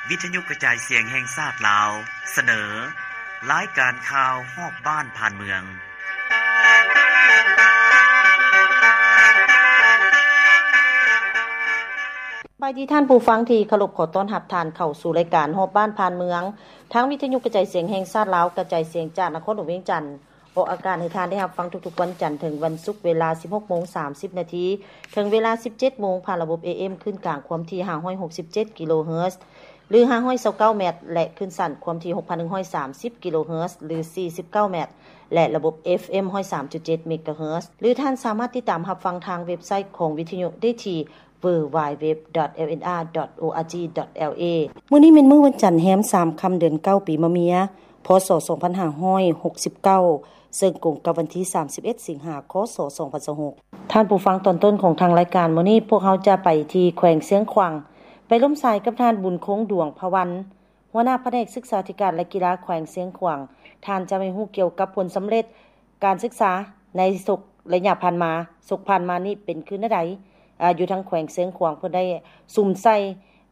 ວິທະຍຸກະຈາຍສຽງແຫ່ງຊາດລາວ ສະເໜີ ລາຍການຂ່າວຮອບບ້ານຜ່ານເມືອງ. ສະບາຍດີທ່ານຜູ້ຟັງທີ່ເຄົາລົບ, ຂໍຕ້ອນຮັບທ່ານເຂົ້າສູ່ລາຍການຮອບບ້ານຜ່ານເມືອງ ທາງວິທະຍຸກະຈາຍສຽງແຫ່ງຊາດລາວ ກະຈາຍສຽງຈາກນະຄອນຫຼວງວຽງຈັນ. ອອກອາກາດໃຫ້ທ່ານໄດ້ຮັບຟັງທຸກໆວັນຈັນເຖິງວັນສຸກ ເວລາສິບຫົກໂມງສາມສິບນາທີ ເຖິງເວລາສິບເຈັດໂມງ ຜ່ານລະບົບ ເອເອັມ ຄື້ນກາງຄວາມຖີ່ຫ້າຮ້ອຍຫົກສິບເຈັດກິໂລເຮີດ ຫຼື ຫ້າຮ້ອຍຊາວເກົ້າແມັດ ແລະ ຄື້ນສັ້ນຄວາມຖີ່ຫົກພັນໜຶ່ງຮ້ອຍສາມສິບກິໂລເຮີດ ຫຼື ສີ່ສິບເກົ້າແມັດ ແລະ ລະບົບ ເອຟເອັມ ຮ້ອຍສາມຈຸດເຈັດເມກາເຮີດ ຫຼື ທ່ານສາມາດຕິດຕາມຮັບຟັງທາງເວັບໄຊຂອງວິທະຍຸໄດ້ທີ່ ดัບເບິນຢູດັບເບິນຢູດັບເບິນຢູດັບເບິນຢູ ດອດ ເອລເອັນອາ ດອດ ໂອອາຈີ ດອດ ແອລເອ. ມື້ນີ້ແມ່ນມື້ວັນຈັນແຮມສາມຄ່ຳເດືອນເກົ້າ ປີມະເມຍ ພ.ສ. ສອງພັນຫ້າຮ້ອຍຫົກສິບເກົ້າ ເຊິ່ງກົງກັບວັນທີສາມສິບເອັດ ສິງຫາ ຄ.ສ. ສອງພັນຊາວຫົກ. ທ່ານຜູ້ຟັງ, ຕອນຕົ້ນຂອງທາງລາຍການມື້ນີ້ ພວກເຮົາຈະໄປທີ່ແຂວງຊຽງຂວາງ ໄປລົມສາຍກັບທ່ານ ບຸນຄົງ ດວງພະວັນ ຫົວໜ້າພະແນກສຶກສາທິການ ແລະ ກິລາແຂວງຊຽງຂວາງ. ທ່ານຈະໃຫ້ຮູ້ກ່ຽວກັບຜົນສຳເລັດ ການສຶກສາໃນສົກໄລຍະຜ່ານມາ, ສົກຜ່ານມານີ້ເປັນຄືແນວໃດ? ອາ ຢູ່ທາງແຂວງຊຽງຂວາງເພິ່ນໄດ້ສຸມໃສ່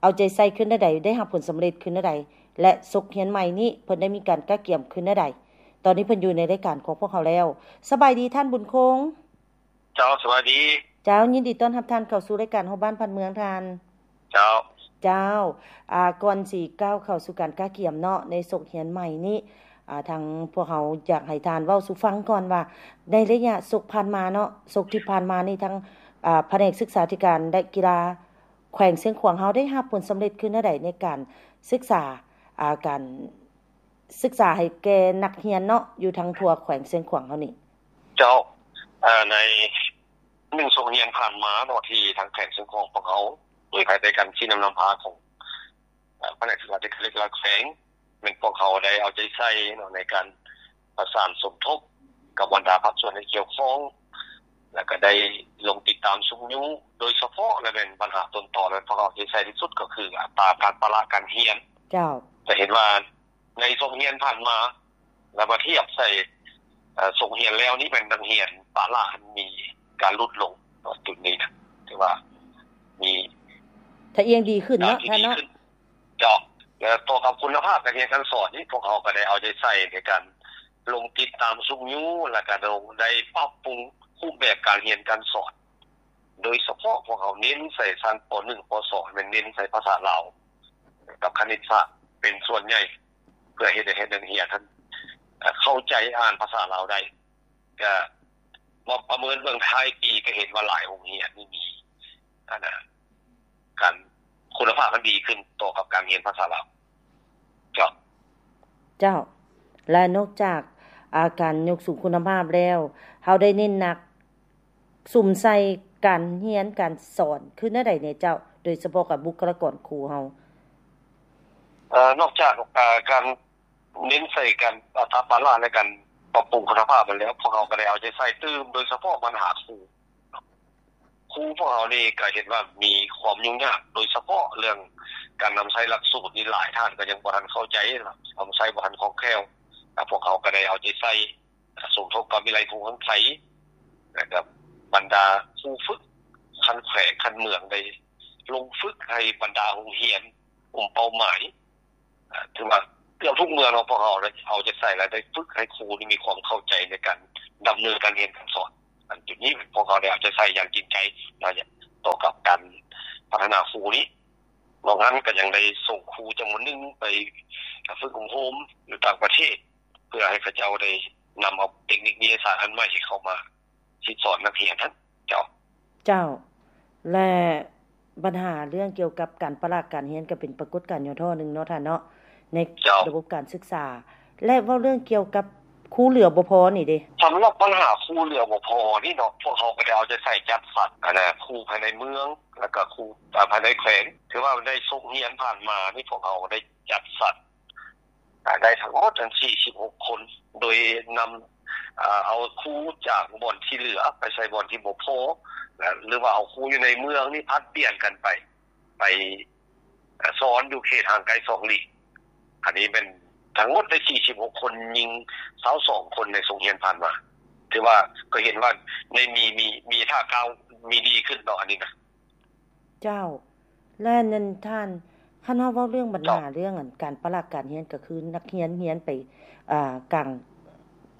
ເອົາໃຈໃສ່ຄືແນວໃດ? ໄດ້ຮັບຜົນສຳເລັດຄືແນວໃດ? ແລະ ສົກຮຽນໃໝ່ນີ້ເພິ່ນໄດ້ມີການກະກຽມຄືແນວໃດ? ຕອນນີ້ເພິ່ນຢູ່ໃນລາຍການຂອງພວກເຮົາແລ້ວ. ສະບາຍດີທ່ານບຸນຄົງ. ເຈົ້າ, ສະບາຍດີ. ເຈົ້າ, ຍິນດີຕ້ອນຮັບທ່ານເຂົ້າສູ່ລາຍການຮອບບ້ານຜ່ານເມືອງທ່ານ. ເຈົ້າ. ເຈົ້າ, ອາ, ກ່ອນຊິກ້າວເຂົ້າສູ່ການກະກຽມເນາະ ໃນສົກຮຽນໃໝ່ນີ້, ອາ, ທາງພວກເຮົາຢາກໃຫ້ທ່ານເວົ້າສູ່ຟັງກ່ອນວ່າ ໃນໄລຍະສົກຜ່ານມາເນາະ, ສົກທີ່ຜ່ານມານີ້ ທາງ, ອາ, ພະແນກສຶກສາທິການ ແລະ ກິລາແຂວງຊຽງຂວາງເຮົາໄດ້ຮັບຜົນສຳເລັດຄືແນວໃດໃນການສຶກສາ, ອາ, ການ ສຶກສາໃຫ້ແກ່ນັກຮຽນເນາະ ຢູ່ທາງທົ່ວແຂວງຊຽງຂວາງເຮົານີ້. ເຈົ້າ, ເອີ, ໃນໜຶ່ງສົກຮຽນຜ່ານມາເນາະ ທີ່ທາງແຂວງຊຽງຂວາງພວກເຮົາ ໂດຍພາຍໃຕ້ການຊີ້ນຳນຳພາຂອງ, ເອີ, ພະແນກສຶກສາທິການ ແລະ ກິລາແຂວງ ແມ່ນພວກເຮົາໄດ້ເອົາໃຈໃສ່ເນາະ ໃນການປະສານສົມທົບກັບບັນດາພາກສ່ວນທີ່ກ່ຽວຂ້ອງ ແລ້ວກໍໄດ້ລົງຕິດຕາມຊຸກຍູ້ ໂດຍສະເພາະ ແລະ ແມ່ນບັນຫາຕົ້ນຕໍ ແລະ ພວກເຮົາເອົາໃຈໃສ່ທີ່ສຸດກໍຄືອັດຕາການປະລະການຮຽນ. ເຈົ້າ. ຈະເຫັນວ່າ ໃນສົກຮຽນຜ່ານມາ ແລ້ວມາທຽບໃສ່ ເອີ ສົກຮຽນແລ້ວນີ້ ແມ່ນນັກຮຽນປະລະມີການຫຼຸດລົງເນາະ ຈຸດນີ້ນະ ຖືວ່າມີ ຖ້າອຽງດີຂຶ້ນເນາະ ທ່ານເນາະ. ເຈົ້າ. ແລະ ຕໍ່ກັບຄຸນນະພາບການຮຽນການສອນນີ້ ພວກເຮົາກໍໄດ້ເອົາໃຈໃສ່ໃນການລົງຕິດຕາມຊຸກຍູ້ ແລ້ວກໍໄດ້ປັບປຸງຮູບແບບການຮຽນການສອນ ໂດຍສະເພາະພວກເຮົາເນັ້ນໃສ່ຊັ້ນ ປໍໜຶ່ງ ປໍສອງ ແມ່ນເນັ້ນໃສ່ພາສາລາວກັບຄະນິດສາດເປັນສ່ວນໃຫຍ່ ເພື່ອເຮັດໃຫ້ນັກຮຽນຫັ້ນເຂົ້າໃຈອ່ານພາສາລາວໄດ້. ກະມາປະເມີນເບິ່ງທ້າຍປີ ກະເຫັນວ່າຫຼາຍໂຮງຮຽນນີ້ມີ ອັນນະ ການ ຄຸນນະພາບມັນດີຂຶ້ນຕໍ່ກັບການຮຽນພາສາລາວ. ເຈົ້າ. ເຈົ້າ. ແລະ ນອກຈາກ ອາ ການຍົກສູງຄຸນນະພາບແລ້ວ ເຮົາໄດ້ເນັ້ນໜັກ ສຸມໃສ່ການຮຽນການສອນຄືແນວໃດແດ່ເຈົ້າ? ໂດຍສະເພາະກັບບຸກຄະລາກອນຄູເຮົາ. ເອີ ນອກຈາກ ເອີ ການເນັ້ນໃສ່ການ ອາ ປະລະ ແລະ ການປັບປຸງຄຸນນະພາບຫັ້ນແລ້ວ ພວກເຮົາກໍໄດ້ເອົາໃຈໃສ່ຕື່ມ ໂດຍສະເພາະບັນຫາຄູ. ຄູພວກເຮົານີ້ກໍເຫັນວ່າມີຄວາມຫຍຸ້ງຍາກ ໂດຍສະເພາະເລື່ອງການນຳໃຊ້ຫຼັກສູດນີ້ ຫຼາຍທ່ານກໍຍັງບໍ່ທັນເຂົ້າໃຈ ນຳໃຊ້ບໍ່ທັນຄ່ອງແຄ້ວ. ພວກເຮົາກໍໄດ້ເອົາໃຈໃສ່ ສົມທົບກັບວິໄລຄູຂອງໄທ ແລະ ກັບບັນດາຄູຝຶກຂັ້ນແຂວງ ຂັ້ນເມືອງ ໄດ້ລົງຝຶກໃຫ້ບັນດາໂຮງຮຽນກຸ່ມເປົ້າໝາຍ ເອີ ຖືວ່າເກືອບທຸກເມືອງເນາະ ພວກເຮົາໄດ້ເອົາໃຈໃສ່ ແລະ ໄດ້ຝຶກໃຫ້ຄູນີ້ມີຄວາມເຂົ້າໃຈໃນການດຳເນີນການຮຽນການສອນ. ອັນຈຸດນີ້ພວກເຮົາໄດ້ເອົາໃຈໃສ່ຢ່າງຈິງໃຈ ແລະ ຕໍ່ກັບການພັດທະນາຄູນີ້. ນອກນັ້ນກໍຍັງໄດ້ສົ່ງຄູຈຳນວນໜຶ່ງໄປຝຶກອົບຮົມຢູ່ຕ່າງປະເທດ ເພື່ອໃຫ້ເຂົາເຈົ້າໄດ້ນຳເອົາເຕັກນິກວິທະຍາສາດອັນໃໝ່ເຂົ້າມາ ສິດສອນນັກຮຽນຫັ້ນ. ເຈົ້າ. ເຈົ້າ. ແລະ ບັນຫາເລື່ອງກ່ຽວກັບການປະລະການຮຽນ ກໍເປັນປາກົດການຫຍໍ້ທໍ້ໜຶ່ງເນາະທ່ານເນາະ ໃນ ເຈົ້າ ລະບົບການສຶກສາ. ແລະ ເວົ້າເລື່ອງກ່ຽວກັບຄູເຫຼືອບໍ່ພໍນີ້ເດ? ສຳລັບບັນຫາຄູເຫຼືອບໍ່ພໍນີ້ເນາະ ພວກເຮົາກໍໄດ້ເອົາໃຈໃສ່ຈັດສັນ ອັນນະ ຄູພາຍໃນເມືອງ ແລ້ວກໍຄູ ອາ ພາຍໃນແຂວງ. ຖືວ່າໃນສົກຮຽນຜ່ານມານີ້ ພວກເຮົາໄດ້ຈັດສັນ ອາ ໄດ້ທັງໝົດອັນສີ່ສິບຫົກຄົນ ໂດຍນຳ ອາ ເອົາຄູຈາກບ່ອນທີ່ເຫຼືອໄປໃສ່ບ່ອນທີ່ບໍ່ພໍ ຫຼືວ່າເອົາຄູຢູ່ໃນເມືອງນີ້ຜັດປ່ຽນກັນໄປ ໄປ ອາ ສອນຢູ່ເຂດຫ່າງໄກສອງຫຼີກ. ອັນນີ້ແມ່ນທັງໝົດໄດ້ສີ່ສິບຫົກຄົນ, ຍິງຊາວສອງຄົນໃນສົກຮຽນຜ່ານມາ. ຖືວ່າກໍເຫັນວ່າໄດ້ມີ ມີ ມີທ່າກ້າວ ມີດີຂຶ້ນເນາະ ອັນນີ້ນະ. ເຈົ້າ. ແລະ ນັ້ນທ່ານ ຄັນເຮົາເວົ້າເລື່ອງບັນຫາ ເຈົ້າ ເລື່ອງອັນການປະລະການຮຽນ ກໍຄືນັກຮຽນຮຽນໄປ ອ່າ ກາງ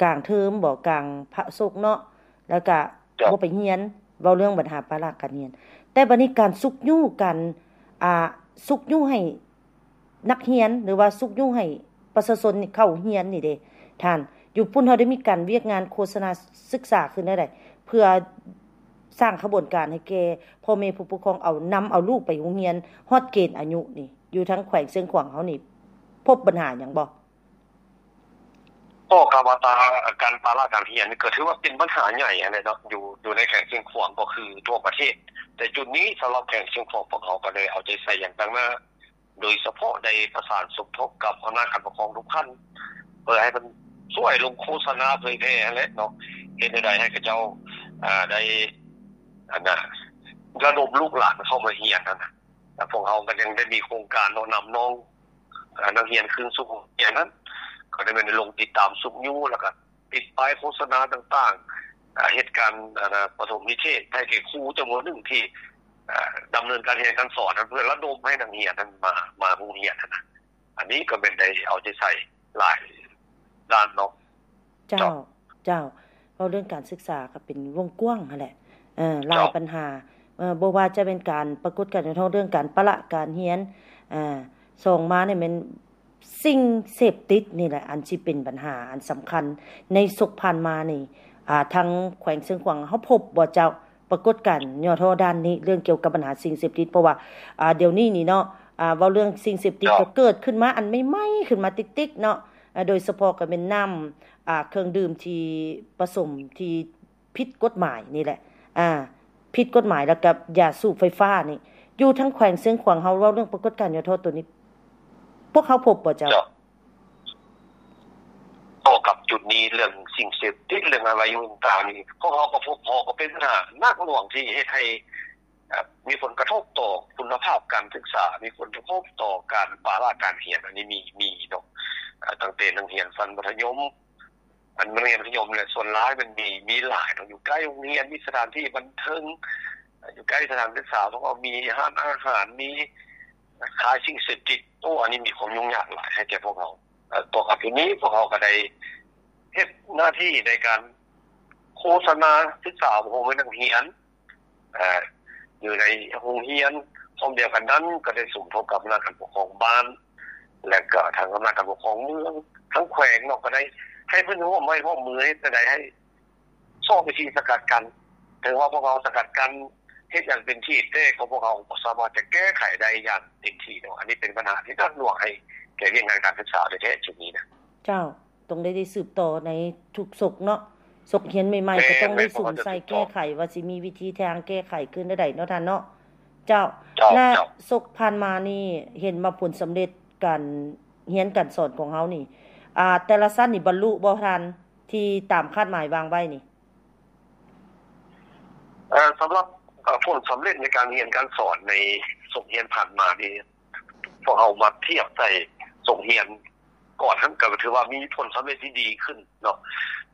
ກາງເທີມບໍ ກາງພາກສົກເນາະ ແລ້ວກໍ ເຈົ້າ ບໍ່ໄປຮຽນ ເວົ້າເລື່ອງບັນຫາປະລະການຮຽນ. ແຕ່ບັດນີ້ການຊຸກຍູ້ ການ ອ່າ ຊຸກຍູ້ໃຫ້ ນັກຮຽນ ຫຼືວ່າຊຸກຍູ້ໃຫ້ປະຊາຊົນນີ້ເຂົ້າຮຽນນີ້ເດ້ທ່ານ, ຢູ່ພຸ້ນເຮົາໄດ້ມີການວຽກງານໂຄສະນາສຶກສາຂຶ້ນແນວໃດ ເພື່ອສ້າງຂະບວນການໃຫ້ແກ່ພໍ່ແມ່ຜູ້ປົກຄອງ ເອົາ ນຳເອົາລູກໄປໂຮງຮຽນຮອດເກນອາຍຸນີ້ ຢູ່ທາງແຂວງຊຽງຂວາງເຮົານີ້ ພົບບັນຫາຫຍັງບໍ່? ກໍກະວ່າຕາ ການປະລະການຮຽນນີ້ກໍຖືວ່າເປັນບັນຫາໃຫຍ່ຫັ້ນແຫຼະເນາະ ຢູ່ ຢູ່ໃນແຂວງຊຽງຂວາງ ກໍຄືທົ່ວປະເທດ. ແຕ່ຈຸດນີ້ສຳລັບແຂວງຊຽງຂວາງ ພວກເຮົາກໍໄດ້ເອົາໃຈໃສ່ຢ່າງໜັກໜາ ໂດຍສະເພາະໄດ້ປະສານສົມທົບກັບອຳນາດການປົກຄອງທຸກຂັ້ນ ເພື່ອໃຫ້ເພິ່ນຊ່ວຍລົງໂຄສະນາເຜີຍແຜ່ຫັ້ນແຫຼະເນາະ ເຮັດແນວໃດໃຫ້ເຂົາເຈົ້າ ອ່າ ໄດ້ ອັນນ່າ ລະດົມລູກຫຼານເຂົ້າມາຮຽນຫັ້ນນະ. ແລະ ພວກເຮົາກໍຍັງໄດ້ມີໂຄງການເນາະ ນຳນ້ອງ ອ່າ ນັກຮຽນຄືນສູ່ໂຮງຮຽນຫັ້ນ ກໍໄດ້ແມ່ນລົງຕິດຕາມຊຸກຍູ້ ແລ້ວກໍ ຕິດປ້າຍໂຄສະນາຕ່າງໆ ອ່າ ເຮັດການ ອ່າ ປະຖົມນິເທດໃຫ້ແກ່ຄູຈຳນວນໜຶ່ງທີ່ ອ່າ ດຳເນີນການຮຽນການສອນນັ້ນ ເພື່ອລະດົມໃຫ້ນັກຮຽນນັ້ນມາ ມາໂຮງຮຽນຫັ້ນນະ. ອັນນີ້ກໍແມ່ນໄດ້ເອົາໃຈໃສ່ຫຼາຍດ້ານເນາະ. ເຈົ້າ ເຈົ້າ ເຈົ້າ ເວົ້າເລື່ອງການສຶກສາກໍເປັນວົງກວ້າງຫັ້ນແຫຼະ ເອີ ຫຼາຍ ເຈົ້າ ບັນຫາ ເອີ ບໍ່ວ່າຈະເປັນການປາກົດການເລື່ອງການປະລະການຮຽນ ເອີ ສອງມານີ້ແມ່ນ ສິ່ງເສບຕິດນີ້ແຫຼະ ອັນຊິເປັນບັນຫາອັນສຳຄັນ. ໃນສົກຜ່ານມານີ້ ອ່າ ທາງແຂວງຊຽງຂວາງເຮົາພົບບໍ່ເຈົ້າ ປາກົດການຫຍໍ້ທໍ້ດ້ານນີ້ ເລື່ອງກ່ຽວກັບບັນຫາສິ່ງເສບຕິດ? ເພາະວ່າ ອ່າ ດຽວນີ້ນີ້ເນາະ ອ່າ ເວົ້າເລື່ອງສິ່ງເສບຕິດ ເຈົ້າ ກໍເກີດຂຶ້ນມາອັນໃໝ່ໆ ຂຶ້ນມາຕິກໆ ເນາະ ໂດຍສະເພາະກໍແມ່ນນ້ຳ ອ່າ ເຄື່ອງດື່ມທີ່ປະສົມທີ່ ຜິດກົດໝາຍນີ້ແຫຼະ ອ່າ ຜິດກົດໝາຍ ແລ້ວກໍຢາສູບໄຟຟ້ານີ້ ຢູ່ທາງແຂວງຊຽງຂວາງເຮົາເວົ້າເລື່ອງປາກົດການຫຍໍ້ທໍ້ໂຕນີ້ ພວກເຮົາພົບບໍ່ເຈົ້າ? ເຈົ້າ ຕໍ່ກັບຈຸດນີ້ ເລື່ອງສິ່ງເສບຕິດ ເລື່ອງອາໄວວະຕ່າງໆນີ້ ພວກເຮົາກໍພົບພໍ້ ກໍເປັນບັນຫາໜັກໜ່ວງທີ່ເຮັດໃຫ້ ເອີ ມີຜົນກະທົບຕໍ່ຄຸນນະພາບການສຶກສາ ມີຜົນກະທົບຕໍ່ການປະລະການຮຽນ ອັນນີ້ມີ ມີເນາະ ເອີ ຕັ້ງແຕ່ນັກຮຽນຊັ້ນມັດທະຍົມ ອັນໂຮງຮຽນມັດທະຍົມແຫຼະ ສ່ວນຫຼາຍມັນມີ ມີຫຼາຍເນາະ ຢູ່ໃກ້ໂຮງຮຽນ ມີສະຖານທີ່ບັນເທີງ ຢູ່ໃກ້ສະຖານສຶກສາ ເພາະວ່າມີຮ້ານອາຫານ ມີຂາຍສິ່ງເສບຕິດ. ໂອ້ ອັນນີ້ມີຄວາມຫຍຸ້ງຍາກຫຼາຍໃຫ້ແກ່ພວກເຮົາ. ເອີ ຕໍ່ກັບຈຸດນີ້ ພວກເຮົາກໍໄດ້ເຮັດໜ້າທີ່ໃນການໂຄສະນາສຶກສາ ໂຮງຮຽນນັກຮຽນ ເອີ ຢູ່ໃນໂຮງຮຽນ. ພ້ອມດຽວກັນນັ້ນ ກໍໄດ້ສົມທົບກັບອຳນາດການປົກຄອງບ້ານ ແລະ ກໍທາງອຳນາດການປົກຄອງເມືອງ ທາງແຂວງເນາະ ກໍໄດ້ໃຫ້ເພິ່ນຮ່ວມໄມ້ຮ່ວມມື ເຮັດແນວໃດໃຫ້ຊອກວິທີສະກັດກັ້ນ. ເຖິງວ່າພວກເຮົາສະກັດກັ້ນເຮັດຢ່າງເຕັມທີ່ ແຕ່ກໍພວກເຮົາບໍ່ສາມາດຈະແກ້ໄຂໄດ້ຢ່າງເຕັມທີ່ເນາະ. ອັນນີ້ເປັນບັນຫາທີ່ໜັກໜ່ວງໃຫ້ແກ່ວຽກງານການສຶກສາໂດຍແທ້ຈຸດນີ້ນະ. ເຈົ້າ. ຕ້ອງໄດ້ ໄດ້ສືບຕໍ່ໃນທຸກສົກເນາະ, ສົກຮຽນໃໝ່ໆ ແມ່ນ ກໍຕ້ອງໄດ້ ແມ່ນ ສຸມໃສ່ ພວກເຮົາຈະສືບຕໍ່ ແກ້ໄຂວ່າຊິມີວິທີທາງແກ້ໄຂຄືແນວໃດເນາະທ່ານເນາະ. ເຈົ້າ ເຈົ້າ ແລະ ເຈົ້າ ສົກຜ່ານມານີ້ເຫັນວ່າຜົນສຳເລັດການຮຽນການສອນຂອງເຮົານີ້ ອ່າ ແຕ່ລະຊັ້ນນີ້ບັນລຸບໍ່ທ່ານ ທີ່ຕາມຄາດໝາຍວາງໄວ້ນີ້? ເອີ ສຳລັບ ເອີ ຜົນສຳເລັດໃນການຮຽນການສອນໃນສົກຮຽນຜ່ານມານີ້ ພວກເຮົາມາທຽບໃສ່ສົກຮຽນ ກ່ອນຫັ້ນກໍຖືວ່າມີຜົນສຳເລັດທີ່ດີຂຶ້ນເນາະ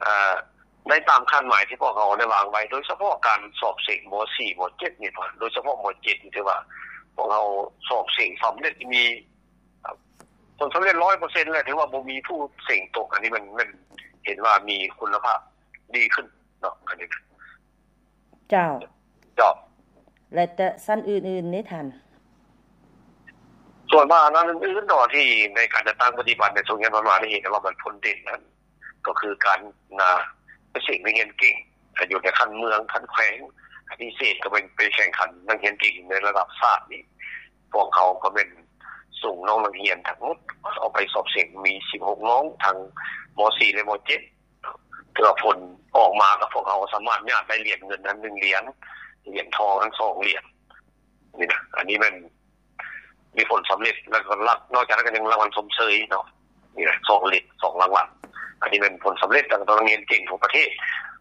ເອີ ໃນຕາມຄາດໝາຍທີ່ພວກເຮົາໄດ້ວາງໄວ້ ໂດຍສະເພາະການສອບເສັງ ມໍສີ່ ມໍເຈັດນີ້ ໂດຍສະເພາະ ມໍເຈັດນີ້ ຖືວ່າພວກເຮົາສອບເສັງສຳເລັດ ມີ ເອີ ຜົນສຳເລັດຮ້ອຍເປີເຊັນ ແລະ ຖືວ່າບໍ່ມີຜູ້ເສັງຕົກ. ອັນນີ້ມັນ ມັນເຫັນວ່າມີຄຸນນະພາບດີຂຶ້ນເນາະ ອັນນີ້ນະ. ເຈົ້າ ເຈົ້າ ແລະ ແຕ່ຊັ້ນອື່ນໆເດ້ທ່ານ? ສ່ວນວ່າອັນອື່ນໆເນາະ ທີ່ໃນການຈັດຕັ້ງປະຕິບັດໃນໂຮງຮຽນຜ່ານມານີ້ ເຫັນວ່າມັນພົ້ນເດັ່ນນັ້ນ ກໍຄືການນາ ເສັງນັກຮຽນເກັ່ງ ຢູ່ໃນຂັ້ນເມືອງ ຂັ້ນແຂວງ ພິເສດກໍແມ່ນໄປແຂ່ງຂັນນັກຮຽນເກັ່ງໃນລະດັບຊາດນີ້ ພວກເຮົາກໍແມ່ນສົ່ງນ້ອງນັກຮຽນທັງໝົດເອົາໄປສອບເສັງ ມີສິບຫົກນ້ອງ ທັງ ມໍສີ່ ແລະ ມໍເຈັດ ຖືວ່າຜົນອອກມາ ກັບພວກເຮົາສາມາດຍາດໄດ້ຫຼຽນເງິນຫັ້ນໜຶ່ງຫຼຽນ ຫຼຽນທອງຫັ້ນສອງຫຼຽນນີ້ນະ. ອັນນີ້ແມ່ນມີຜົນສຳເລັດ ແລ້ວກໍນອກຈາກນັ້ນກໍຍັງລາງວັນຊົມເຊີຍເນາະ ນີ້ນະ ສອງຫຼຽນ ສອງລາງວັນ. ອັນນີ້ແມ່ນຜົນສຳເລັດຂອງນັກຮຽນເກັ່ງທົ່ວປະເທດ.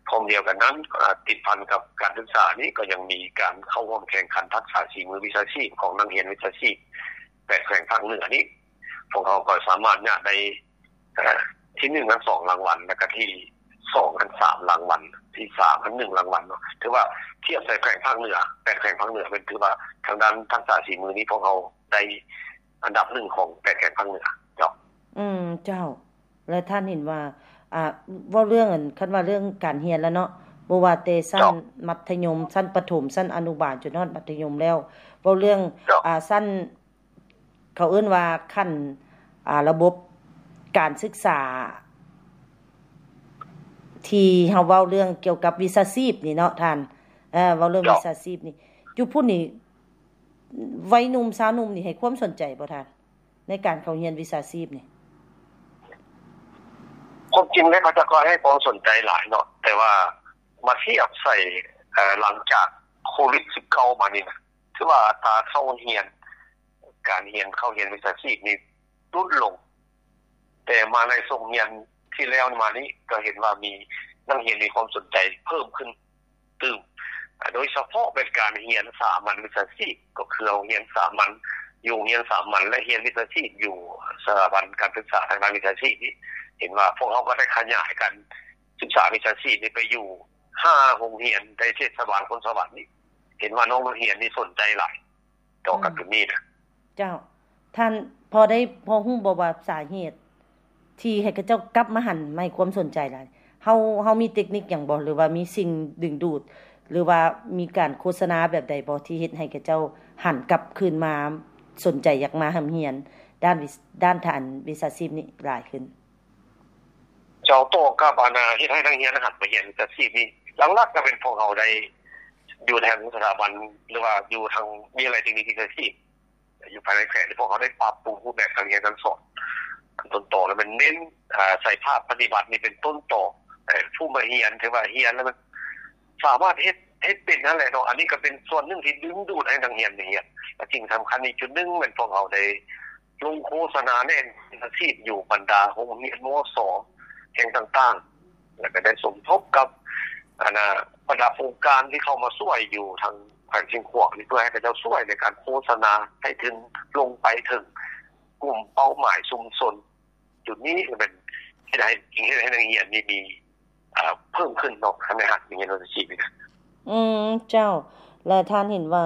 ພ້ອມດຽວກັນນັ້ນ ອາ ຕິດພັນກັບການສຶກສານີ້ ກໍຍັງມີການເຂົ້າຮ່ວມແຂ່ງຂັນທັກສະສີມືວິຊາຊີບຂອງນັກຮຽນວິຊາຊີບແປດແຂວງພາກເໜືອນີ້ ພວກເຮົາກໍສາມາດຍາດໄດ້ ເອີ ທີໜຶ່ງຫັ້ນສອງລາງວັນ ແລ້ວກໍທີສອງຫັ້ນສາມລາງວັນ ທີສາມຫັ້ນໜຶ່ງລາງວັນເນາະ. ຖືວ່າທຽບໃສ່ແຂວງພາກເໜືອ ແປດແຂວງພາກເໜືອ ແມ່ນຖືວ່າທາງດ້ານທັກສະສີມືນີ້ ພວກເຮົາໄດ້ ອັນດັບໜຶ່ງຂອງແປດແຂວງພາກເໜືອ. ເຈົ້າ. ອືມ ເຈົ້າ. ແລະທ່ານເຫັນວ່າ ອ່າ ເວົ້າເລື່ອງອັນ ຄັນວ່າເລື່ອງການຮຽນແລ້ວເນາະ ບໍ່ວ່າແຕ່ຊັ້ນ ເຈົ້າ ມັດທະຍົມ, ຊັ້ນປະຖົມ, ຊັ້ນອະນຸບານ ຈົນຮອດມັດທະຍົມແລ້ວ ເວົ້າເລື່ອງ ເຈົ້າ ອ່າ ຊັ້ນ ເຂົາເອີ້ນວ່າຂັ້ນ ອ່າ ລະບົບການສຶກສາ ທີ່ເຮົາເວົ້າເລື່ອງກ່ຽວກັບວິຊາຊີບນີ້ເນາະທ່ານ ເອີ ເວົ້າເລື່ອງ ເຈົ້າ ວິຊາຊີບນີ້ ຢູ່ພຸ້ນນີ້ ໄວໜຸ່ມຊາວໜຸ່ມນີ້ໃຫ້ຄວາມສົນໃຈບໍ່ທ່ານ ໃນການເຂົ້າຮຽນວິຊາຊີບນີ້? ຄວາມຈິງແລ້ວເຂົາເຈົ້າກໍໃຫ້ຄວາມສົນໃຈຫຼາຍເນາະ ແຕ່ວ່າມາທຽບໃສ່ ເອີ ຫຼັງຈາກໂຄວິດສິບເກົ້າມານີ້ນະ ຖືວ່າອັດຕາເຂົ້າຮຽນ ການຮຽນ ເຂົ້າຮຽນວິຊາຊີບນີ້ຫຼຸດລົງ ແຕ່ມາໃນສົກຮຽນທີ່ແລ້ວມານີ້ ກໍເຫັນວ່າມີນັກຮຽນມີຄວາມສົນໃຈເພີ່ມຂຶ້ນຕື່ມ ໂດຍສະເພາະແມ່ນການຮຽນສາມັນວິຊາຊີບ ກໍຄືເຮົາຮຽນສາມັນ ຢູ່ໂຮງຮຽນສາມັນ ແລະ ຮຽນວິຊາຊີບຢູ່ສະຖາບັນການສຶກສາທາງດ້ານວິຊາຊີບນີ້ ເຫັນວ່າພວກເຮົາກໍໄດ້ຂະຫຍາຍການສຶກສາວິຊາຊີບນີ້ໄປຢູ່ຫ້າໂຮງຮຽນໃນເທດສະບານຄົນສະຫວັນນີ້ ເຫັນວ່ານ້ອງນັກຮຽນນີ້ສົນໃຈຫຼາຍ ຕໍ່ກັບ ອືມ ໂຕນີ້ນະ. ເຈົ້າ. ທ່ານພໍໄດ້ ພໍຮູ້ບໍ່ວ່າສາເຫດທີ່ໃຫ້ເຂົາເຈົ້າກັບມາຫັນມາໃຫ້ຄວາມສົນໃຈຫຼາຍ? ເຮົາ ເຮົາມີເຕັກນິກຫຍັງບໍ່ ຫຼືວ່າມີສິ່ງດຶງດູດ ຫຼືວ່າມີການໂຄສະນາແບບໃດບໍ່ ທີ່ເຮັດໃຫ້ເຂົາເຈົ້າຫັນກັບຄືນມາສົນໃຈຢາກມາຮ່ຳຮຽນດ້ານວິ ດ້ານທາງວິຊາຊີບນີ້ຫຼາຍຂຶ້ນ? ເຈົ້າ ຕໍ່ກັບອັນນາ ເຮັດໃຫ້ນັກຮຽນຫັນມາຮຽນວິຊາຊີບນີ້ ຫຼັກໆກໍແມ່ນພວກເຮົາໄດ້ຢູ່ທາງສະຖາບັນ ຫຼືວ່າຢູ່ທາງວິທະຍາໄລເຕັກນິກວິຊາຊີບ ຢູ່ພາຍໃນແຂວງ ພວກເຮົາໄດ້ປັບປຸງຮູບແບບການຮຽນການສອນ ອັນຕົ້ນຕໍແລ້ວແມ່ນເນັ້ນ ອາ ໃສ່ພາກປະຕິບັດນີ້ເປັນຕົ້ນຕໍ ເອີ ຜູ້ມາຮຽນຖືວ່າຮຽນແລ້ວມັນສາມາດເຮັດ ເຮັດເປັນຫັ້ນແຫຼະເນາະ ອັນນີ້ກໍເປັນສ່ວນໜຶ່ງທີ່ດຶງດູດໃຫ້ນັກຮຽນມາຮຽນ ແລະ ສິ່ງສຳຄັນອີກຈຸດໜຶ່ງແມ່ນພວກເຮົາໄດ້ ລົງໂຄສະນາແນະນຳອາຊີບຢູ່ບັນດາໂຮງຮຽນ ມສ ແຫ່ງຕ່າງໆ ແລ້ວກໍໄດ້ສົມທົບກັບ ອັນນາ ບັນດາອົງການທີ່ເຂົ້າມາຊ່ວຍຢູ່ທາງແຂວງຊຽງຂວາງນີ້ ເພື່ອໃຫ້ເຂົາເຈົ້າຊ່ວຍໃນການໂຄສະນາໃຫ້ເຖິງ ລົງໄປເຖິງກຸ່ມເປົ້າໝາຍຊຸມຊົນ. ຈຸດນີ້ກໍແມ່ນເຮັດໃຫ້ ເຮັດໃຫ້ນັກຮຽນນີ້ມີ ເອີ ເພີ່ມຂຶ້ນເນາະ ໃນຮັກຮຽນວິຊາຊີບນີ້ນະ. ອືມ ເຈົ້າ. ແລະ ທ່ານເຫັນວ່າ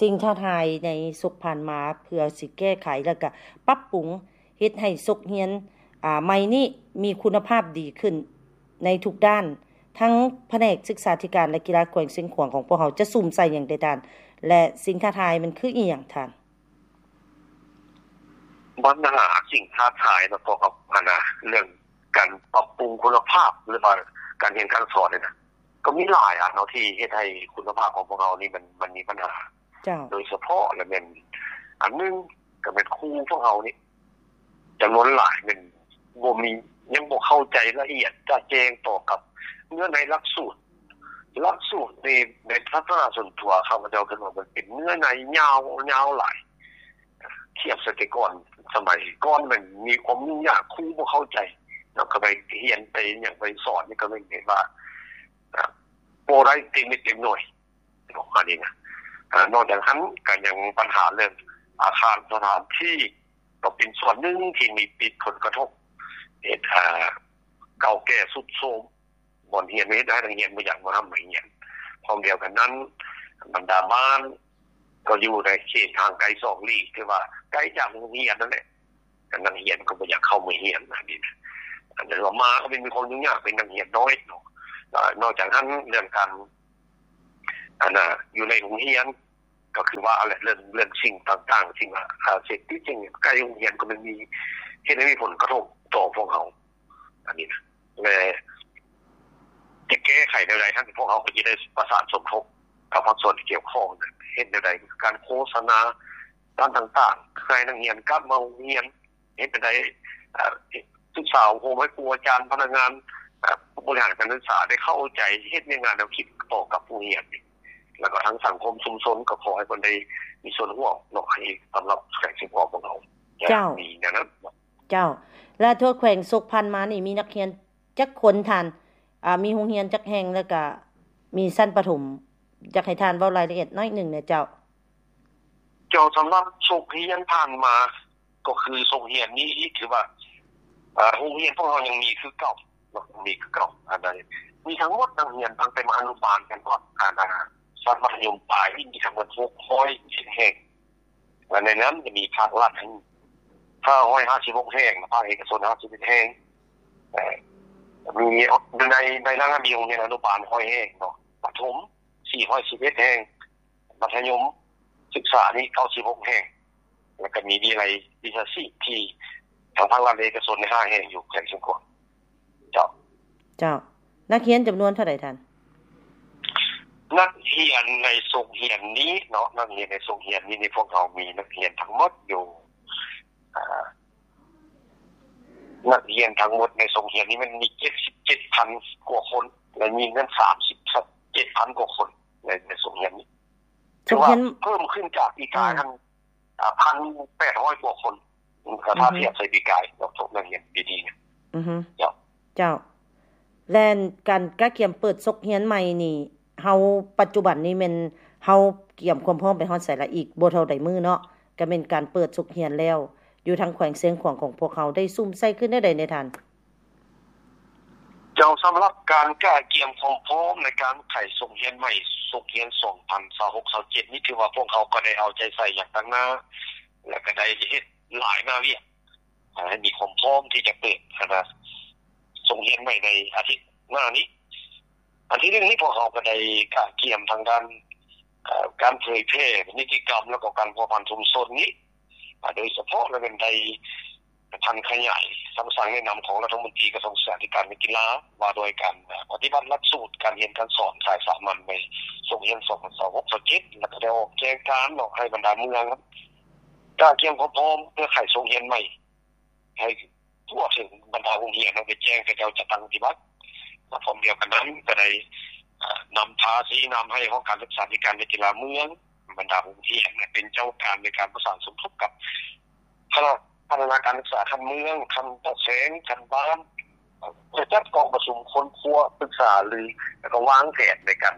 ສິ່ງທ້າທາຍໃນສົກຜ່ານມາ ເພື່ອຊິແກ້ໄຂ ແລ້ວກະປັບປຸງເຮັດໃຫ້ສົກຮຽນ ອາ ໃໝ່ນີ້ມີຄຸນນະພາບດີຂຶ້ນໃນທຸກດ້ານ ທັງພະແນກສຶກສາທິການ ແລະ ກິລາແຂວງຊຽງຂວາງຂອງພວກເຮົາຈະສຸມໃສ່ຫຍັງແດ່ທ່ານ ແລະ ສິ່ງທ້າທາຍມັນຄືອີ່ຫຍັງທ່ານ? ບັນຫາສິ່ງທ້າທາຍເນາະ ກ່ຽວກັບ ອັນນາ ເລື່ອງການປັບປຸງຄຸນນະພາບ ຫຼືວ່າການຮຽນການສອນນີ້ນະ ກໍມີຫຼາຍອັນເນາະ ທີ່ເຮັດໃຫ້ຄຸນນະພາບຂອງພວກເຮົານີ້ມັນ ມັນມີບັນຫາ. ເຈົ້າ. ໂດຍສະເພາະລະແມ່ນ ອັນໜຶ່ງກໍແມ່ນຄູພວກເຮົານີ້ ຈຳນວນຫຼາຍແມ່ນບໍ່ມີ ຍັງບໍ່ເຂົ້າໃຈລະອຽດຈະແຈ້ງຕໍ່ກັບເນື້ອໃນຫຼັກສູດ. ຫຼັກສູດນີ້ໃນທັດສະນະສ່ວນຕົວຂ້າພະເຈົ້າຄິດວ່າມັນເປັນເນື້ອໃນຍາວ ຍາວຫຼາຍ ທຽບໃສ່ແຕ່ກ່ອນ ສະໄໝກ່ອນແມ່ນມີຄວາມຫຍຸ້ງຍາກ ຄູບໍ່ເຂົ້າໃຈ ແລ້ວກໍໄປຮຽນໄປຫຍັງໄປສອນນີ້ ກໍແມ່ນເຫັນວ່າ ອາ ບໍ່ໄດ້ເຕັມເມັດເຕັມໜ່ວຍ ປະມານນີ້ນະ. ອາ ນອກຈາກນັ້ນກໍຍັງບັນຫາເລື່ອງອາຄານສະຖານທີ່ ກໍເປັນສ່ວນໜຶ່ງທີ່ມີ ມີຜົນກະທົບ ເຮັດ ອາ ເກົ່າແກ່ຊຸດໂຊມ ບ່ອນຮຽນ ເຮັດໃຫ້ນັກຮຽນບໍ່ຢາກມາຮ່ຳມາຮຽນ. ພ້ອມດຽວກັນນັ້ນ ບັນດາບ້ານກໍຢູ່ໃນເຂດຫ່າງໄກສອກຫຼີກ ຖືວ່າໄກຈາກໂຮງຮຽນນັ້ນແຫຼະ ນັກຮຽນກໍບໍ່ຢາກເຂົ້າມາຮຽນ ອັນນີ້ນະ. ອັນນັ້ນວ່າມາກໍເປັນ ມີຄວາມຫຍຸ້ງຍາກ ເປັນນັກຮຽນນ້ອຍເນາະ. ແລ້ວນອກຈາກນັ້ນ ເລື່ອງການ ອັນນະ ຢູ່ໃນໂຮງຮຽນ ກໍຄືວ່າແຫຼະ ເລື່ອງ ເລື່ອງສິ່ງຕ່າງໆ ສິ່ງ ອາ ເສບຕິດ ສິ່ງໃກ້ໂຮງຮຽນ ກໍແມ່ນມີ ເຮັດໃຫ້ມີຜົນກະທົບຕໍ່ພວກເຮົາ ອັນນີ້ນະ. ແລະ ຈະແກ້ໄຂແນວໃດ ທາງພວກເຮົາກໍຈະໄດ້ປະສານສົມທົບກັບພາກສ່ວນທີ່ກ່ຽວຂ້ອງ ເຮັດແນວໃດ ການໂຄສະນາ ການຕ່າງໆ ໃຫ້ນັກຮຽນກັບມາໂຮງຮຽນ ເຮັດແນວໃດ ເອີ ສຶກສາອົບຮົມໃຫ້ຄູອາຈານ ພະນັກງານ ເອີ ຜູ້ບໍລິຫານການສຶກສາໄດ້ເຂົ້າໃຈ ເຮັດວຽກງານແນວຄິດຕໍ່ກັບຜູ້ຮຽນ ແລ້ວກໍທັງສັງຄົມຊຸມຊົນ ກໍຂໍໃຫ້ເພິ່ນໄດ້ມີສ່ວນຮ່ວມເນາະ ໃຫ້ສຳລັບແຂວງຊຽງຂວາງຂອງເຮົາ. ເຈົ້າ. ມີແນວນັ້ນ. ເຈົ້າ. ແລະ ທົ່ວແຂວງສົກຜ່ານມານີ້ ມີນັກຮຽນຈັກຄົນທ່ານ? ອາ ມີໂຮງຮຽນຈັກແຫ່ງ? ແລ້ວກະມີຊັ້ນປະຖົມ? ຢາກໃຫ້ທ່ານເວົ້າລາຍລະອຽດໜ້ອຍໜຶ່ງແດ່ເຈົ້າ. ເຈົ້າ, ສຳລັບສົກຮຽນຜ່ານມາ ກໍຄືສົກຮຽນນີ້ຖືວ່າ ເອີ ໂຮງຮຽນພວກເຮົາຍັງມີຄືເກົ່າເນາະ, ມີຄືເກົ່າ. ອັນໃດ ມີທັງໝົດນັກຮຽນຕັ້ງແຕ່ມາອະນຸບານກັນຮອດ ອັນ ຊັ້ນມັດທະຍົມປາຍນີ້ ມີທັງໝົດຫົກຮ້ອຍເຈັດແຫ່ງ ແລະ ໃນນັ້ນຈະມີພາກລັດ ຫ້າຮ້ອຍຫ້າສິບຫົກແຫ່ງ, ພາກເອກະຊົນຫ້າສິບເອັດແຫ່ງ, ເອີ ມີຢູ່ໃນ ໃນນັ້ນມີໂຮງຮຽນອະນຸບານຮ້ອຍແຫ່ງເນາະ, ປະຖົມສີ່ຮ້ອຍສິບເອັດແຫ່ງ, ມັດທະຍົມສຶກສານີ້ເກົ້າສິບຫົກແຫ່ງ, ແລ້ວກໍມີວິໄລວິຊາຊີບທີ່ທາງພາກລັດ ແລະ ເອກະຊົນໃນຫ້າແຫ່ງຢູ່ແຂວງຊຽງຂວາງ. ເຈົ້າ. ເຈົ້າ. ນັກຮຽນຈຳນວນເທົ່າໃດທ່ານ? ນັກຮຽນໃນໂຮງຮຽນນີ້ເນາະ, ນັກຮຽນໃນໂຮງຮຽນນີ້ ພວກເຮົາມີນັກຮຽນທັງໝົດຢູ່ ອ່າ ນັກຮຽນທັງໝົດໃນໂຮງຮຽນນີ້ມັນມີເຈັດສິບເຈັດພັນກວ່າຄົນ ແລະ ມີເງິນສາມສິບເຈັດພັນກວ່າຄົນໃນ ໃນໂຮງຮຽນນີ້. ຖືວ່າເພີ່ມຂຶ້ນຈາກປີກາຍຫັ້ນ ອ່າ ພັນແປດຮ້ອຍກວ່າຄົນ ຖ້າທຽບໃສ່ປີກາຍເນາະ, ພວກນັກຮຽນປີນີ້. ອືຮຶ. ເຈົ້າ. ເຈົ້າ. ແລະ ການກະກຽມເປີດສົກຮຽນໃໝ່ນີ້ ເຮົາ ປັດຈຸບັນນີ້ແມ່ນເຮົາກຽມຄວາມພ້ອມໄປຮອດໃສລະ? ອີກບໍ່ເທົ່າໃດມື້ເນາະ ກະແມ່ນການເປີດສົກຮຽນແລ້ວ ຢູ່ທາງແຂວງຊຽງຂວາງຂອງພວກເຮົາໄດ້ສຸມໃສ່ຂຶ້ນແນວໃດແດ່ທ່ານ? ເຈົ້າ, ສຳລັບການກະກຽມຄວາມພ້ອມໃນການໄຂສົກຮຽນໃໝ່ ສົກຮຽນສອງພັນຊາວຫົກ ຊາວເຈັດນີ້ ຖືວ່າພວກເຮົາກໍໄດ້ເອົາໃຈໃສ່ຢ່າງຕັ້ງໜ້າ ແລະ ກໍໄດ້ເຮັດຫຼາຍໜ້າວຽກ ໃຫ້ມີຄວາມພ້ອມທີ່ຈະເປີດ ອັນນະ ສົກຮຽນໃໝ່ໃນອາທິດໜ້ານີ້. ອັນທີໜຶ່ງນີ້ ພວກເຮົາກໍໄດ້ກະກຽມທາງດ້ານ ເອີ ການເຜີຍແຜ່ນິຕິກຳ ແລ້ວກໍການພົວພັນຊຸມຊົນນີ້ ໂດຍສະເພາະລະແມ່ນໄດ້ຜັນຂະຫຍາຍຄຳສັ່ງແນະນຳຂອງລັດຖະມົນຕີກະຊວງສຶກສາທິການ ແລະ ກິລາ ວ່າດ້ວຍການປະຕິບັດຫຼັກສູດການຮຽນການສອນສາຍສາມັນໃນສົກຮຽນສອງພັນຊາວຫົກ ຊາວເຈັດ ແລ້ວກໍໄດ້ອອກແຈ້ງການເນາະ ໃຫ້ບັນດາເມືອງກະກຽມຄວາມພ້ອມເພື່ອໄຂສົກຮຽນໃໝ່ ໃຫ້ທົ່ວເຖິງບັນດາໂຮງຮຽນ ແລ້ວໄປແຈ້ງເຂົາເຈົ້າຈັດຕັ້ງປະຕິບັດ. ພ້ອມດຽວກັນນັ້ນກໍໄດ້ ເອີ ນຳພາຊີ້ນຳໃຫ້ຫ້ອງການສຶກສາທິການ ແລະ ກິລາເມືອງ, ບັນດາໂຮງຮຽນເປັນເຈົ້າການໃນການປະສານສົມທົບກັບຄະນະພັດທະນາການສຶກສາຂັ້ນເມືອງ, ຂັ້ນປະແຂວງ, ຂັ້ນບ້ານ ເພື່ອຈັດກອງປະຊຸມຄົ້ນຄວ້າ, ປຶກສາຫາລື ແລ້ວກໍວາງແຜນໃນການ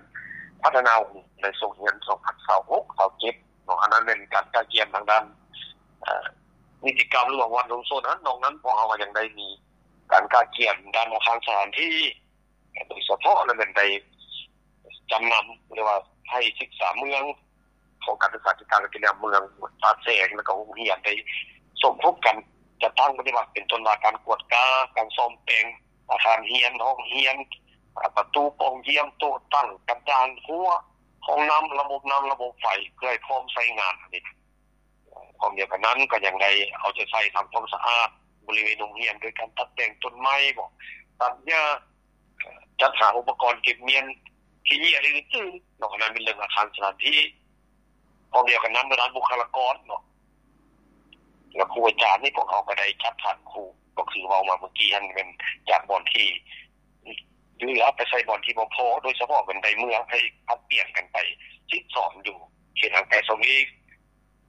ພັດທະນາໃນສົກຮຽນສອງພັນຊາວຫົກ ຊາວເຈັດເນາະ. ອັນນັ້ນແມ່ນການກະກຽມທາງດ້ານ ເອີ ນິຕິກຳ ຫຼືວ່າວັນລົງໂທດຫັ້ນ. ນອກນັ້ນພວກເຮົາກໍຍັງໄດ້ມີການກະກຽມດ້ານອາຄານສະຖານທີ່ ໂດຍສະເພາະລະແມ່ນໄດ້ຈຳນຳ ຫຼືວ່າໃຫ້ສຶກສາເມືອງ ຂອງການສຶກສາທິການ ແລະ ກິລາເມືອງ ປາກແຊງ ແລ້ວກໍໂຮງຮຽນໄດ້ສົມທົບກັນຈັດຕັ້ງປະຕິບັດ ເປັນຕົ້ນວ່າການກວດກາ, ການສ້ອມແປງອາຄານຮຽນ, ຫ້ອງຮຽນ, ປະຕູປ່ອງຢ້ຽມ, ໂຕະຕັ້ງ, ກະດານ, ຮົ້ວ, ຫ້ອງນ້ຳ, ລະບົບນ້ຳ, ລະບົບໄຟ ເພື່ອໃຫ້ພ້ອມໃຊ້ງານ. ອັນນີ້ ພ້ອມດຽວກັນນັ້ນກໍຍັງໄດ້ເອົາໃຈໃສ່ທຳຄວາມສະອາດບໍລິເວນໂຮງຮຽນ ໂດຍການຕັດແຕ່ງຕົ້ນໄມ້ບໍ ຕັດຫຍ້າ, ຈັດຫາອຸປະກອນເກັບມ້ຽນ ຂີ້ເຫຍື້ອ ຫຼື ອື່ນໆເນາະ. ອັນນັ້ນເປັນເລື່ອງອາຄານສະຖານທີ່. ພ້ອມດຽວກັນນັ້ນ ທາງດ້ານບຸກຄະລາກອນເນາະ ແລະ ຄູອາຈານນີ້ ພວກເຮົາກໍໄດ້ຈັດຖານຄູ ກໍຄືເວົ້າມາເມື່ອກີ້ຫັ້ນ ແມ່ນຈາກບ່ອນທີ່ເຫຼືອໄປໃສ່ບ່ອນທີ່ບໍ່ພໍ ໂດຍສະເພາະແມ່ນໄດ້ເມືອໃຫ້ຜັດປ່ຽນກັນໄປສິດສອນຢູ່ເຂດຫ່າງໄກສອກຫຼີກ.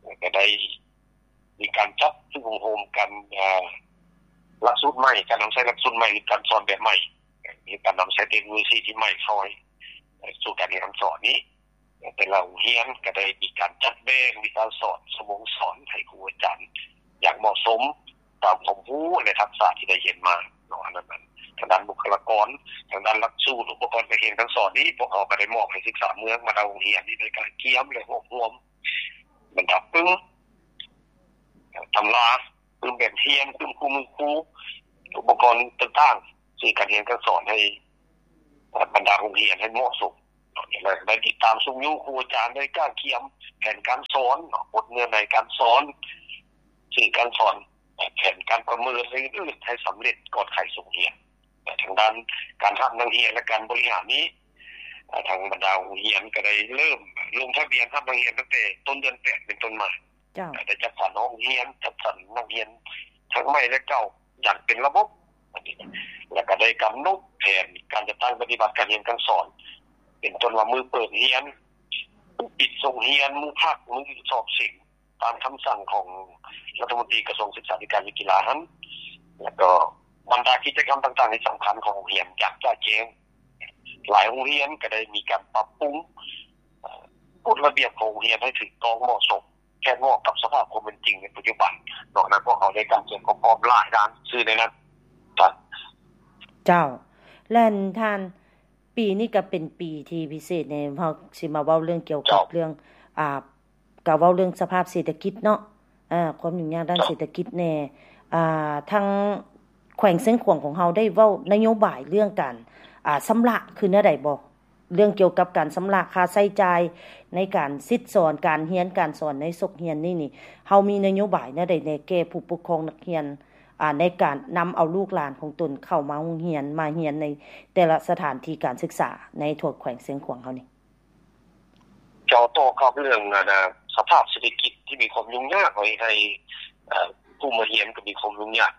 ແລ້ວກໍໄດ້ມີການຈັດຝຶກອົບຮົມການ ເອີ ຫຼັກສູດໃໝ່, ການນຳໃຊ້ຫຼັກສູດໃໝ່ ຫຼື ການສອນແບບໃໝ່, ມີການນຳໃຊ້ເຕັກໂນໂລຊີທີ່ໃໝ່ເຂົ້າໃຫ້ສູ່ການຮຽນການສອນນີ້. ແຕ່ລະໂຮງຮຽນກໍໄດ້ມີການຈັດແບ່ງວິຊາສອນ, ຊົ່ວໂມງສອນໃຫ້ຄູອາຈານຢ່າງເໝາະສົມ ຕາມຄວາມຮູ້ ແລະ ທັກສະທີ່ໄດ້ຮຽນມາເນາະ. ອັນນັ້ນ ທາງດ້ານບຸກຄະລາກອນ, ທາງດ້ານຫຼັກສູດ, ອຸປະກອນການຮຽນການສອນນີ້ ພວກເຮົາກໍໄດ້ມອບໃຫ້ສຶກສາເມືອງ ບັນດາໂຮງຮຽນນີ້ໄດ້ກະກຽມ ແລະ ຮວບຮວມບັນດາປຶ້ມ ຕຳລາ, ປຶ້ມແບບຮຽນ, ປຶ້ມຄູ່ມືຄູ, ອຸປະກອນຕ່າງໆ ສື່ການຮຽນການສອນໃຫ້ບັນດາໂຮງຮຽນໃຫ້ເໝາະສົມ. ແລະ ໄດ້ຕິດຕາມຊຸກຍູ້ຄູອາຈານ ໄດ້ກະກຽມແຜນການສອນ, ບົດເນື້ອໃນການສອນ, ສື່ການສອນ, ແຜນການປະເມີນ ແລະ ອື່ນໆ ໃຫ້ສຳເລັດກ່ອນໄຂສົກຮຽນ. ແລະ ທາງດ້ານການຮັບນັກຮຽນ ແລະ ການບໍລິຫານນີ້ ທາງບັນດາໂຮງຮຽນກໍໄດ້ເລີ່ມລົງທະບຽນຮັບນັກຮຽນຕັ້ງແຕ່ຕົ້ນເດືອນແປດເປັນຕົ້ນມາ. ເຈົ້າ. ໄດ້ຈັດສັນຫ້ອງຮຽນ, ຈັດສັນນັກຮຽນທັງໃໝ່ ແລະ ເກົ່າຢ່າງເປັນລະບົບ, ແລ້ວກໍໄດ້ກຳນົດແຜນການຈັດຕັ້ງປະຕິບັດການຮຽນການສອນ ເປັນຕົ້ນວ່າມື້ເປີດຮຽນ, ປິດໂຮງຮຽນ, ມື້ພັກ, ມື້ສອບເສັງ ຕາມຄຳສັ່ງຂອງລັດຖະມົນຕີກະຊວງສຶກສາທິການ ແລະ ກິລາຫັ້ນ, ແລ້ວກໍບັນດາກິດຈະກຳຕ່າງໆທີ່ສຳຄັນຂອງໂຮງຮຽນຢ່າງຈະແຈ້ງ. ຫຼາຍໂຮງຮຽນກໍໄດ້ມີການປັບປຸງ ເອີ ກົດລະບຽບຂອງໂຮງຮຽນໃຫ້ຖືກຕ້ອງເໝາະສົມ ແທດເໝາະກັບສະພາບຄວາມເປັນຈິງໃນປັດຈຸບັນເນາະ. ນັ້ນພວກເຮົາໄດ້ການກຽມຄວາມພ້ອມຫຼາຍດ້ານຊື່ໃນນັ້ນ. ເຈົ້າ. ແລະ ທ່ານ ປີນີ້ກໍເປັນປີທີ່ພິເສດໃນ ເຮົາຊິມາເວົ້າເລື່ອງກ່ຽວກັບເລື່ອງ ອ່າ ກໍເວົ້າເລື່ອງສະພາບເສດຖະກິດເນາະ. ອ່າ ຄວາມຫຍຸ້ງຍາກດ້ານເສດຖະກິດແດ່ ອ່າ ທາງແຂວງຊຽງຂວາງຂອງເຮົາໄດ້ເວົ້ານະໂຍບາຍເລື່ອງການ ອ່າ ຊຳລະຄືແນວໃດບໍ່? ເລື່ອງກ່ຽວກັບການຊຳລະຄ່າໃຊ້ຈ່າຍໃນການສິດສອນ ການຮຽນການສອນໃນສົກຮຽນນີ້ນີ້ ເຮົາມີນະໂຍບາຍແນວໃດແດ່ແກ່ຜູ້ປົກຄອງນັກຮຽນ ອ່າ ໃນການນຳເອົາລູກຫຼານຂອງຕົນເຂົ້າມາໂຮງຮຽນ ມາຮຽນໃນແຕ່ລະສະຖານທີ່ການສຶກສາໃນທົ່ວແຂວງຊຽງຂວາງເຮົານີ້? ເຈົ້າ ຕໍ່ກັບເລື່ອງ ອັນ ສະພາບເສດຖະກິດທີ່ມີຄວາມຫຍຸ້ງຍາກ ເຮັດໃຫ້ ເອີ ຜູ້ມາຮຽນກໍມີຄວາມຫຍຸ້ງຍາກ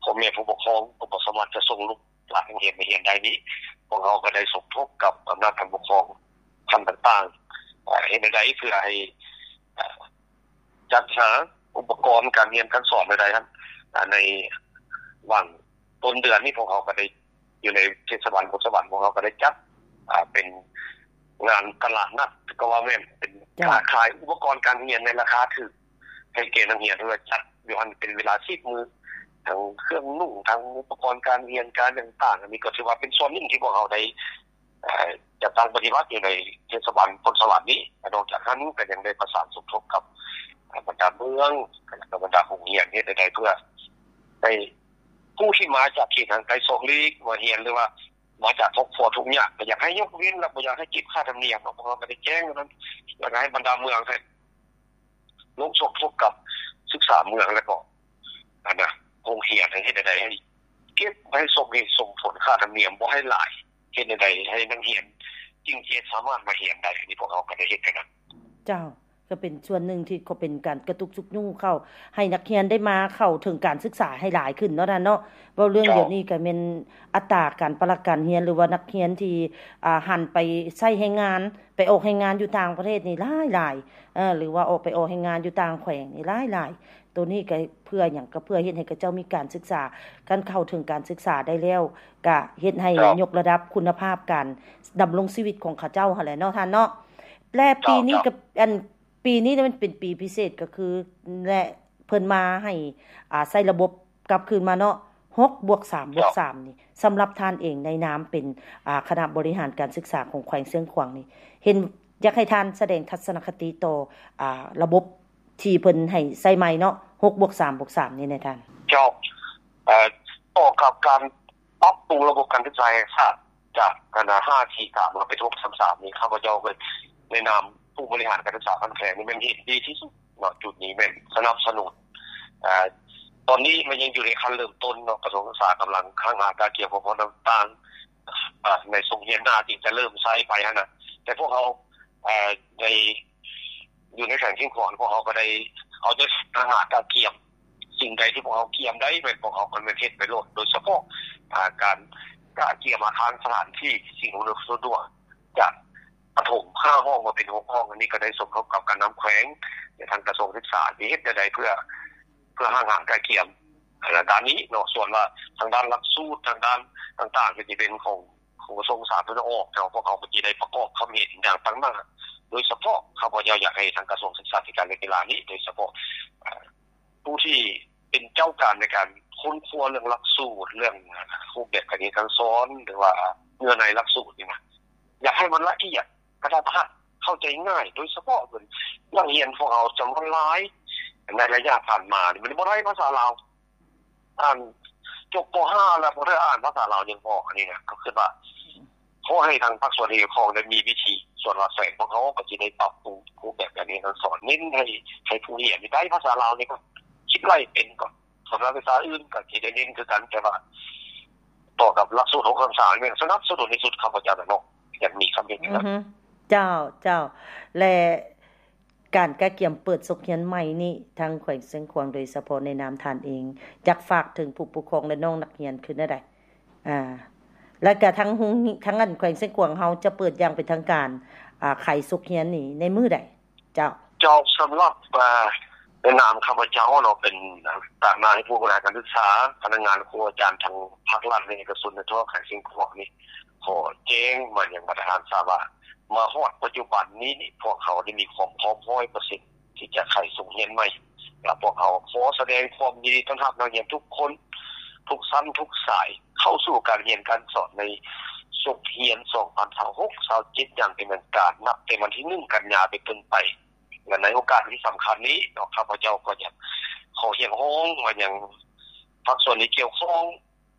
ພໍ່ແມ່ຜູ້ປົກຄອງກໍບໍ່ສາມາດຈະສົ່ງລູກຫຼານໂຮງຮຽນມາຮຽນໄດ້ນີ້ ພວກເຮົາກໍໄດ້ສົມທົບກັບອຳນາດການປົກຄອງຂັ້ນຕ່າງໆ ເຮັດແນວໃດເພື່ອໃຫ້ ຈັດຫາອຸປະກອນການຮຽນການສອນໃດໆ ໃນຫວ່າງຕົ້ນເດືອນນີ້ ພວກເຮົາກໍໄດ້ ຢູ່ໃນເທດສະບານໂພນສະຫວັນ ພວກເຮົາກໍໄດ້ຈັດ ອ່າ ເປັນງານຕະຫຼາດນັດ ກໍວ່າແມ່ນເປັນ ເຈົ້າ ການຂາຍອຸປະກອນການຮຽນໃນລາຄາຖືກ ໃຫ້ແກ່ນັກຮຽນ ເພື່ອຈັດຢູ່ຫັ້ນເປັນເວລາສິບມື້ ທັງເຄື່ອງນຸ່ງ ທັງອຸປະກອນການຮຽນ ການຫຍັງຕ່າງໆ ອັນນີ້ກໍຖືວ່າເປັນສ່ວນໜຶ່ງທີ່ພວກເຮົາໄດ້ ເອີ ຈັດຕັ້ງປະຕິບັດຢູ່ໃນເທດສະບານໂພນສະຫວັນນີ້. ນອກຈາກນັ້ນກໍຍັງໄດ້ປະສານສົມທົບກັບ ເອີ ບັນດາເມືອງ ແລະ ບັນດາໂຮງຮຽນ ເຮັດແນວໃດເພື່ອໃຫ້ຜູ້ທີ່ມາຈາກເຂດຫ່າງໄກສອກຫຼີກມາຮຽນ ຫຼືວ່າມາຈາກຄອບຄົວທຸກຍາກ ກໍຢາກໃຫ້ຍົກເວັ້ນ ແລະ ບໍ່ຢາກໃຫ້ເກັບຄ່າທຳນຽມເນາະ. ພວກເຮົາກໍໄດ້ແຈ້ງນັ້ນ ແລ້ວກໍໃຫ້ບັນດາເມືອງ ໃຫ້ລົງສົມທົບກັບສຶກສາເມືອງ ແລ້ວກໍ ອັນນະ ໂຮງຮຽນ ໃຫ້ເຮັດແນວໃດໃຫ້ເກັບ ໃຫ້ສົມເຫດສົມຜົນຄ່າທຳນຽມບໍ່ໃຫ້ຫຼາຍ ເຮັດແນວໃດໃຫ້ນັກຮຽນຈຶ່ງຈະສາມາດມາຮຽນໄດ້. ອັນນີ້ພວກເຮົາກໍໄດ້ເຮັດແນວນັ້ນ. ເຈົ້າ ກໍເປັນສ່ວນໜຶ່ງທີ່ກໍເປັນການກະຕຸກຊຸກຍູ້ເຂົ້າ ໃຫ້ນັກຮຽນໄດ້ມາເຂົ້າເຖິງການສຶກສາໃຫ້ຫຼາຍຂຶ້ນເນາະທ່ານເນາະ. ເວົ້າເລື່ອງ ເຈົ້າ ດຽວນີ້ກໍແມ່ນອັດຕາການປະລັກການຮຽນ ຫຼືວ່ານັກຮຽນທີ່ ອ່າ ຫັນໄປໃຊ້ແຮງງານ ໄປອອກແຮງງານຢູ່ຕ່າງປະເທດນີ້ຫຼາຍໆ ເອີ ຫຼືວ່າອອກໄປອອກແຮງງານຢູ່ຕ່າງແຂວງນີ້ຫຼາຍໆ. ໂຕນີ້ກໍເພື່ອຫຍັງ? ກໍເພື່ອເຮັດໃຫ້ເຂົາເຈົ້າມີການສຶກສາ ຄັນເຂົ້າເຖິງການສຶກສາໄດ້ແລ້ວ ກໍເຮັດໃຫ້ ເຈົ້າ ຍົກລະດັບຄຸນນະພາບການດຳລົງຊີວິດຂອງເຂົາເຈົ້າຫັ້ນແຫຼະເນາະທ່ານເນາະ. ແລະ ເຈົ້າ ປີນີ້ ເຈົ້າ ກໍ ອັນ ປີນີ້ມັນເປັນປີພິເສດ ກໍຄື ແລະ ເພິ່ນມາໃຫ້ ອ່າ ໃຊ້ລະບົບກັບຄືນມາເນາະ ຫົກບວກສາມບວກສາມ ເຈົ້າ ນີ້ ສຳລັບທ່ານເອງໃນນາມເປັນ ອ່າ ຄະນະບໍລິຫານການສຶກສາຂອງແຂວງຊຽງຂວາງນີ້ ເຫັນ ຢາກໃຫ້ທ່ານສະແດງທັດສະນະຄະຕິຕໍ່ ອ່າ ລະບົບທີ່ເພິ່ນໃຫ້ໃຊ້ໃໝ່ເນາະ ຫົກບວກສາມບວກສາມ ນີ້ແດ່ທ່ານ. ເຈົ້າ ເອີ ຕໍ່ກັບການປັບປຸງລະບົບການສຶກສາແຫ່ງຊາດ ຈາກ ອັນນະ ຫ້າສີ່ສາມ ມາເປັນ ຫົກສາມສາມ ນີ້ ຂ້າພະເຈົ້າເປັນໃນນາມຜູ້ບໍລິຫານການສຶກສາຂັ້ນແຂວງນີ້ແມ່ນເຫັນດີທີ່ສຸດເນາະ. ຈຸດນີ້ແມ່ນສະໜັບສະໜູນ ເອີ ຕອນນີ້ມັນຍັງຢູ່ໃນຂັ້ນເລີ່ມຕົ້ນເນາະ ກະຊວງສຶກສາກຳລັງຫ້າງຫາກະກຽມອຸປະກອນຕ່າງໆ ໃນສົກຮຽນໜ້າຈຶ່ງຈະເລີ່ມໃຊ້ໄປຫັ້ນນະ. ແຕ່ພວກເຮົາ ເອີ ໃນ ຢູ່ໃນແຂວງຊຽງຂວາງ ພວກເຮົາກໍໄດ້ເອົາໃຈໃສ່ ຫ້າງຫາກະກຽມ ສິ່ງໃດທີ່ພວກເຮົາກຽມໄດ້ ແມ່ນພວກເຮົາກໍແມ່ນເຮັດໄປໂລດ ໂດຍສະເພາະ ອ່າ ການກະກຽມອາຄານສະຖານທີ່ ສິ່ງອຳນວຍຄວາມສະດວກ ຈາກປະຖົມຫ້າຫ້ອງມາເປັນຫົກຫ້ອງ. ອັນນີ້ກໍໄດ້ສົມທົບກັບການນຳແຂວງ ແລະ ທາງກະຊວງສຶກສາ ທີ່ເຮັດແນວໃດເພື່ອ ເພື່ອຫ້າງຫາກະກຽມ ອ່າ ດ້ານນີ້ເນາະ. ສ່ວນວ່າທາງດ້ານຫຼັກສູດ ທາງດ້ານຕ່າງໆ ກໍຈະເປັນຂອງ ຂອງກະຊວງສາທາລະນະອອກ ແຕ່ວ່າພວກເຮົາກໍຈະໄດ້ປະກອບຄຳເຫັນຢ່າງຕັ້ງໜ້າ ໂດຍສະເພາະຂ້າພະເຈົ້າຢາກໃຫ້ທາງກະຊວງສຶກສາທິການ ແລະ ກິລານີ້ ໂດຍສະເພາະ ເອີ ຜູ້ທີ່ເປັນເຈົ້າການໃນການຄົ້ນຄວ້າເລື່ອງຫຼັກສູດ ເລື່ອງ ອ່າ ຮູບແບບການຮຽນການສອນ ຫຼືວ່າເນື້ອໃນຫຼັກສູດນີ້ນະ ຢາກໃຫ້ມັນລະອຽດ ກະທັດຮັດ ເຂົ້າໃຈງ່າຍ ໂດຍສະເພາະເປັນນັກຮຽນພວກເຮົາຈຳນວນຫຼາຍໃນໄລຍະຜ່ານມານີ້ ມັນບໍ່ໄດ້ພາສາລາວ ອ່ານຈົບ ປໍຫ້າ ແລ້ວບໍ່ໄດ້ອ່ານພາສາລາວຍັງບໍ່ອອກ. ອັນນີ້ນະ ກໍຄິດວ່າ ຂໍໃຫ້ທາງພາກສ່ວນທີ່ກ່ຽວຂ້ອງໄດ້ມີວິທີ ສ່ວນວ່າແຂວງພວກເຮົາກໍຊິໄດ້ປັບປຸງຮູບແບບການຮຽນການສອນ ເນັ້ນໃຫ້ ໃຫ້ຜູ້ຮຽນນີ້ໄດ້ພາສາລາວນີ້ກ່ອນ ຄິດໄລ່ເປັນກ່ອນ. ສຳລັບວິຊາອື່ນກໍຊິໄດ້ເນັ້ນຄືກັນ ແຕ່ວ່າຕໍ່ກັບຫຼັກສູດ ຫົກສາມສາມ ແມ່ນສະໜັບສະໜູນທີ່ສຸດ ຂ້າພະເຈົ້ານະເນາະ ຢາກມີຄຳເຫັນ ອື ຫັ້ນນະ. ເຈົ້າ ເຈົ້າ ແລະ ການກະກຽມເປີດສົກຮຽນໃໝ່ນີ້ ທາງແຂວງຊຽງຂວາງ ໂດຍສະເພາະໃນນາມທ່ານເອງ ຢາກຝາກເຖິງຜູ້ປົກຄອງ ແລະ ນ້ອງນັກຮຽນຄືແນວໃດ? ອ່າ ແລ້ວກະທາງໂຮງ ທາງອັນແຂວງຊຽງຂວາງເຮົາຈະເປີດຢ່າງເປັນທາງການ ອ່າ ໄຂສົກຮຽນນີ້ໃນມື້ໃດ? ເຈົ້າ ເຈົ້າ ສຳລັບ ເອີ ໃນນາມຂ້າພະເຈົ້າເນາະ ເປັນຕາງໜ້າໃຫ້ຜູ້ບໍລິຫານການສຶກສາ, ພະນັກງານ, ຄູອາຈານ ທັງພາກລັດ ແລະ ເອກະຊົນໃນທົ່ວແຂວງຊຽງຂວາງນີ້ ຂໍແຈ້ງມາຍັງບັນດາທ່ານຊາວວ່າ ມາຮອດປັດຈຸບັນນີ້ ພວກເຮົາໄດ້ມີຄວາມພ້ອມຮ້ອຍເປີເຊັນ ທີ່ຈະໄຂສົກຮຽນໃໝ່ ແລະ ພວກເຮົາຂໍສະແດງຄວາມຍິນດີຕ້ອນຮັບນັກຮຽນທຸກຄົນ ທຸກຊັ້ນທຸກສາຍ ເຂົ້າສູ່ການຮຽນການສອນໃນສົກຮຽນສອງພັນຊາວຫົກ ຊາວເຈັດ ຢ່າງເປັນທາງການ ນັບແຕ່ວັນທີໜຶ່ງ ກັນຍາເປັນຕົ້ນໄປ. ແລະ ໃນໂອກາດທີ່ສຳຄັນນີ້ເນາະ ຂ້າພະເຈົ້າກໍຢາກຂໍຮຽກຮ້ອງມາຍັງພາກສ່ວນທີ່ກ່ຽວຂ້ອງ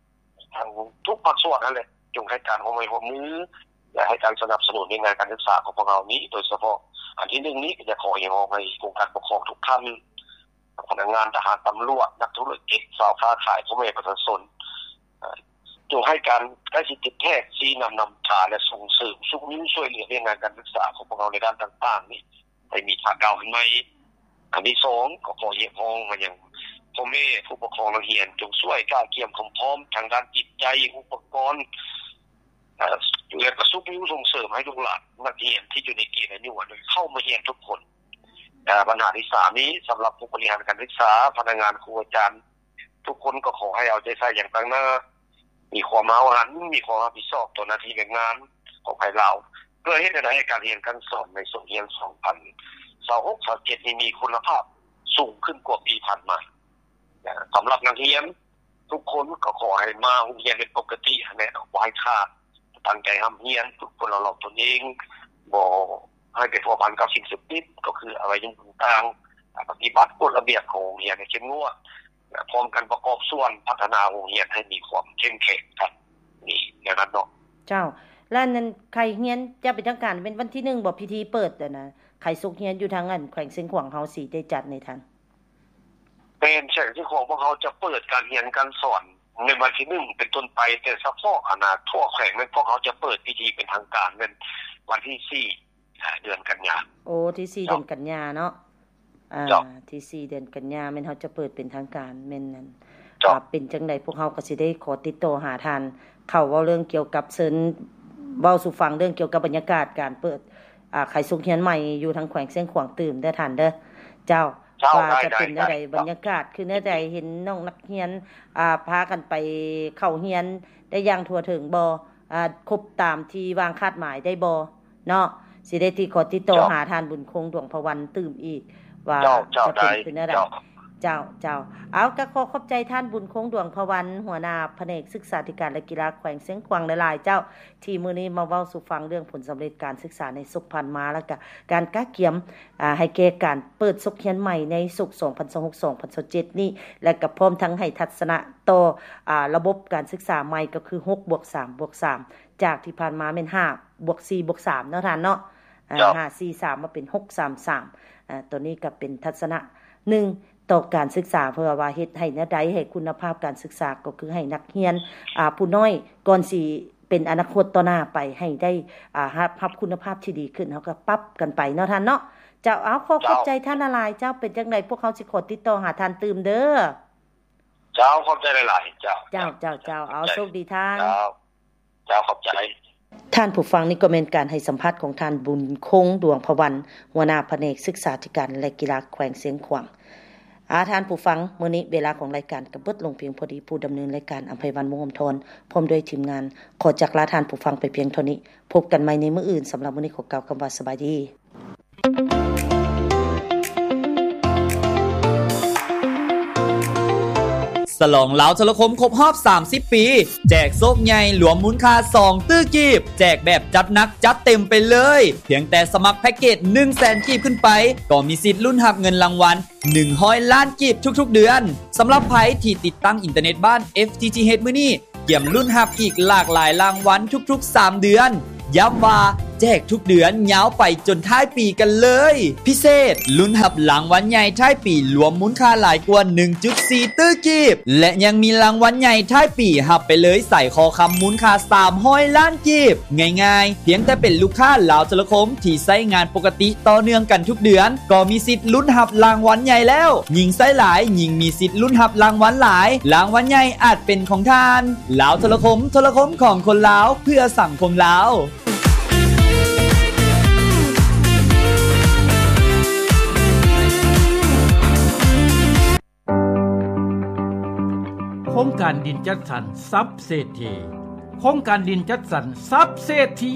ທັງທຸກພາກສ່ວນນັ້ນແຫຼະ ຈົ່ງໃຫ້ການຮ່ວມໄມ້ຮ່ວມມື ແລະ ໃຫ້ການສະໜັບສະໜູນວຽກງານການສຶກສາຂອງພວກເຮົານີ້ ໂດຍສະເພາະອັນທີໜຶ່ງນີ້ ກໍຢາກຂໍຮຽກຮ້ອງໃຫ້ອົງການປົກຄອງທຸກທ່ານ, ພະນັກງານ, ທະຫານ, ຕຳຫຼວດ, ນັກທຸລະກິດ, ຊາວຄ້າຂາຍ, ພໍ່ແມ່ປະຊາຊົນ ເອີ່ ຈົ່ງໃຫ້ການໃກ້ຊິດຕິດແທດ ຊີ້ນຳນຳພາ ແລະ ສົ່ງເສີມຊຸກຍູ້ຊ່ວຍເຫຼືອວຽກງານການສຶກສາຂອງພວກເຮົາໃນດ້ານຕ່າງໆນີ້ ໃຫ້ມີທ່າກ້າວອັນໃໝ່. ອັນທີສອງ ກໍຂໍຮຽກຮ້ອງມາຍັງພໍ່ແມ່ຜູ້ປົກຄອງນັກຮຽນ ຈົ່ງຊ່ວຍກະກຽມຄວາມພ້ອມທາງດ້ານຈິດໃຈ, ອຸປະກອນ ເອີ່ ແລະ ກະຊຸກຍູ້ສົ່ງເສີມໃຫ້ລູກຫຼານນັກຮຽນທີ່ຢູ່ໃນເກນອາຍຸອັນນັ້ນເຂົ້າມາຮຽນທຸກຄົນ. ເອີ່ ບັນຫາທີສາມນີ້ ສຳລັບຜູ້ບໍລິຫານການສຶກສາ, ພະນັກງານ, ຄູອາຈານ ທຸກຄົນກໍຂໍໃຫ້ເອົາໃຈໃສ່ຢ່າງຕັ້ງໜ້າ, ມີຄວາມຫ້າວຫັນ, ມີຄວາມຮັບຜິດຊອບຕໍ່ໜ້າທີ່ວຽກງານຂອງໃຜລາວ ເພື່ອເຮັດໃຫ້ການຮຽນການສອນໃນສົກຮຽນສອງພັນຊາວຫົກ ຊາວເຈັດນີ້ມີຄຸນນະພາບສູງຂຶ້ນກວ່າປີຜ່ານມາ. ສຳລັບນັກຮຽນທຸກຄົນກໍຂໍໃຫ້ມາໂຮງຮຽນເປັນປົກກະຕິຫັ້ນແຫຼະເນາະ, ບໍ່ໃຫ້ຂາດ, ຕັ້ງໃຈຮ່ຳຮຽນ, ຝຶກຝົນເອົາລອງຕົນເອງ, ບໍ່ໃຫ້ໄປພົວພັນກັບສິ່ງເສບຕິດ ກໍຄືອະໄວາຍະມຸກຕ່າງໆ, ປະຕິບັດກົດລະບຽບຂອງໂຮງຮຽນໃຫ້ເຂັ້ມງວດ ແລະ ພ້ອມກັນປະກອບສ່ວນພັດທະນາໂຮງຮຽນໃຫ້ມີຄວາມເຂັ້ມແຂງກັນ ນີ້ແນວນັ້ນເນາະ. ເຈົ້າ ແລະ ອັນນັ້ນ ໄຂຮຽນຢ່າງເປັນທາງການແມ່ນວັນທີໜຶ່ງບໍ່ ພິທີເປີດຫັ້ນນະ ໄຂສົກຮຽນຢູ່ທາງອັນແຂວງຊຽງຂວາງເຮົາຊິໄດ້ຈັດໃນທ່ານ? ແມ່ນ ແຂວງຊຽງຂວາງພວກເຮົາຈະເປີດການຮຽນການສອນໃນວັນທີໜຶ່ງເປັນຕົ້ນໄປ, ແຕ່ສະເພາະອັນນະທົ່ວແຂວງແມ່ນພວກເຮົາຈະເປີດພິທີເປັນທາງການແມ່ນວັນທີສີ່ ເດືອນກັນຍາ. ໂອ້ ທີສີ່ ເຈົ້າ ເດືອນກັນຍາເນາະ. ອ່າ ເຈົ້າ ທີສີ່ ເດືອນກັນຍາແມ່ນເຮົາຈະເປີດເປັນທາງການ ແມ່ນນັ້ນ. ເຈົ້າ ອ່າ ເປັນຈັ່ງໃດພວກເຮົາກໍຊິໄດ້ຂໍຕິດຕໍ່ຫາທ່ານ ເຂົ້າເວົ້າເລື່ອງກ່ຽວກັບ ເຊີນເວົ້າສູ່ຟັງເລື່ອງກ່ຽວກັບບັນຍາກາດການເປີດ ອ່າ ໄຂສົກຮຽນໃໝ່ຢູ່ທາງແຂວງຊຽງຂວາງຕື່ມເດີທ່ານເດີ. ເຈົ້າ ເຈົ້າ ວ່າຈະເປັນແນວໃດ ໄດ້ ໄດ້ ບັນຍາກາດຄືແນວໃດ ເຫັນນ້ອງນັກຮຽນ ອ່າ ພາກັນໄປເຂົ້າຮຽນໄດ້ຢ່າງທົ່ວເຖິງບໍ່? ອ່າ ຄົບຕາມທີ່ວາງຄາດໝາຍໄດ້ບໍ່ເນາະ? ຊິໄດ້ຕິດ ຂໍຕິດຕໍ່ ເຈົ້າ ຫາທ່ານບຸນຄົງ ດວງພະວັນ ຕື່ມອີກວ່າ ເຈົ້າ ເຈົ້າ ຈະເປັນ ໄດ້ ຄືແນວໃດ. ເຈົ້າ ເຈົ້າ ເຈົ້າ ເອົາ ກໍຂໍຂອບໃຈທ່ານບຸນຄົງ ດວງພະວັນ ຫົວໜ້າພະແນກສຶກສາທິການ ແລະ ກິລາແຂວງຊຽງຂວາງຫຼາຍໆ ເຈົ້າ ທີ່ມື້ນີ້ມາເວົ້າສູ່ຟັງເລື່ອງຜົນສຳເລັດການສຶກສາໃນສົກຜ່ານມາ ແລະ ກະການກະກຽມ ອ່າ ໃຫ້ແກ່ການເປີດສົກຮຽນໃໝ່ໃນສົກສອງພັນຊາວຫົກ ສອງພັນຊາວເຈັດນີ້ ແລະ ກະພ້ອມທັງໃຫ້ທັດສະນະຕໍ່ ອ່າ ລະບົບການສຶກສາໃໝ່ ກໍຄື ຫົກບວກສາມບວກສາມ ຈາກທີ່ຜ່ານມາແມ່ນ ຫ້າບວກສີ່ບວກສາມ ເນາະທ່ານເນາະ. ເຈົ້າ ຫ້າ ສີ່ ສາມ ມາເປັນ ຫົກ ສາມ ສາມ. ຕົວນີ້ກໍເປັນທັດສະນະໜຶ່ງຕໍ່ການສຶກສາ ເພື່ອວ່າເຮັດໃຫ້ແນວໃດໃຫ້ຄຸນນະພາບການສຶກສາ ກໍຄືໃຫ້ນັກຮຽນ ອ່າ ຜູ້ນ້ອຍ ກ່ອນຊິເປັນອະນາຄົດຕໍ່ໜ້າໄປ ໃຫ້ໄດ້ ອ່າ ຮັບ ຮັບຄຸນນະພາບທີ່ດີຂຶ້ນ ເຮົາກໍປັບກັນໄປເນາະທ່ານເນາະ. ເຈົ້າ ເອົາ ຂໍຂອບໃຈ ເຈົ້າ ທ່ານຫຼາຍໆ ເຈົ້າ. ເປັນຈັ່ງໃດພວກເຮົາຊິຂໍຕິດຕໍ່ຫາທ່ານຕື່ມເດີ. ເຈົ້າ ຂອບໃຈຫຼາຍໆ ເຈົ້າ. ເຈົ້າ ເຈົ້າ ເຈົ້າ ເອົາ ໂຊກດີທ່ານ. ເຈົ້າ ເຈົ້າ ຂອບໃຈ. ທ່ານຜູ້ຟັງ, ນີ້ກໍແມ່ນການໃຫ້ສຳພາດຂອງທ່ານ ບຸນຄົງ ດວງພະວັນ ຫົວໜ້າພະແນກສຶກສາທິການ ແລະ ກິລາແຂວງຊຽງຂວາງ. ອາ ທ່ານຜູ້ຟັງ, ມື້ນີ້ເວລາຂອງລາຍການກໍເບິດລົງພຽງພໍດີ. ຜູ້ດຳເນີນລາຍການ ອຳໄພວັນ ວົງອຳທອນ ພ້ອມດ້ວຍທີມງານ ຂໍຈາກລາທ່ານຜູ້ຟັງໄປພຽງເທົ່ານີ້. ພົບກັນໃໝ່ໃນມື້ອື່ນ. ສຳລັບມື້ນີ້ ຂໍກ່າວຄຳວ່າສະບາຍດີ. ສະຫຼອງລາວໂທລະຄົມຄົບຮອບສາມສິບປີ ແຈກໂຊກໃຫຍ່ລວມມູນຄ່າສອງຕື້ກີບ, ແຈກແບບຈັດໜັກຈັດເຕັມໄປເລີຍ. ພຽງແຕ່ສະໝັກແພັກເກດໜຶ່ງແສນກີບຂຶ້ນໄປ ກໍມີສິດລຸ້ນຮັບເງິນລາງວັນໜຶ່ງຮ້ອຍລ້ານກີບທຸກໆເດືອນ. ສຳລັບໃຜທີ່ຕິດຕັ້ງອິນເຕີເນັດບ້ານ ເອັຟ ທີ ທີ ເອັດ ມື້ນີ້ ກຽມລຸ້ນຮັບອີກຫຼາກຫຼາຍລາງວັນທຸກໆສາມເດືອນ. ຢ້ຳວ່າແຈກທຸກເດືອນຍາວໄປຈົນທ້າຍປີກັນເລີຍ. ພິເສດ, ລຸ້ນຮັບລາງວັນໃຫຍ່ທ້າຍປີລວມມູນຄ່າຫຼາຍກວ່າໜຶ່ງຈຸດສີ່ຕື້ກີບ ແລະ ຍັງມີລາງວັນໃຫຍ່ທ້າຍປີຮັບໄປເລີຍສາຍຄໍຄຳມູນຄ່າສາມຮ້ອຍລ້ານກີບ. ງ່າຍໆ, ພຽງແຕ່ເປັນລູກຄ້າລາວໂທລະຄົມທີ່ໃຊ້ງານປົກກະຕິຕໍ່ເນື່ອງກັນທຸກເດືອນ ກໍມີສິດລຸ້ນຮັບລາງວັນໃຫຍ່ແລ້ວ. ຍິ່ງໃຊ້ຫຼາຍ, ຍິ່ງມີສິດລຸ້ນຮັບລາງວັນຫຼາຍ. ລາງວັນໃຫຍ່ອາດເປັນຂອງທ່ານ. ລາວໂທລະຄົມ, ໂທລະຄົມຂອງຄົນລາວ, ເພື່ອສັງຄົມລາວ. ໂຄງການດິນຈັດສັນຊັບເສດຖີ. ໂຄງການດິນຈັດສັນຊັບເສດຖີ.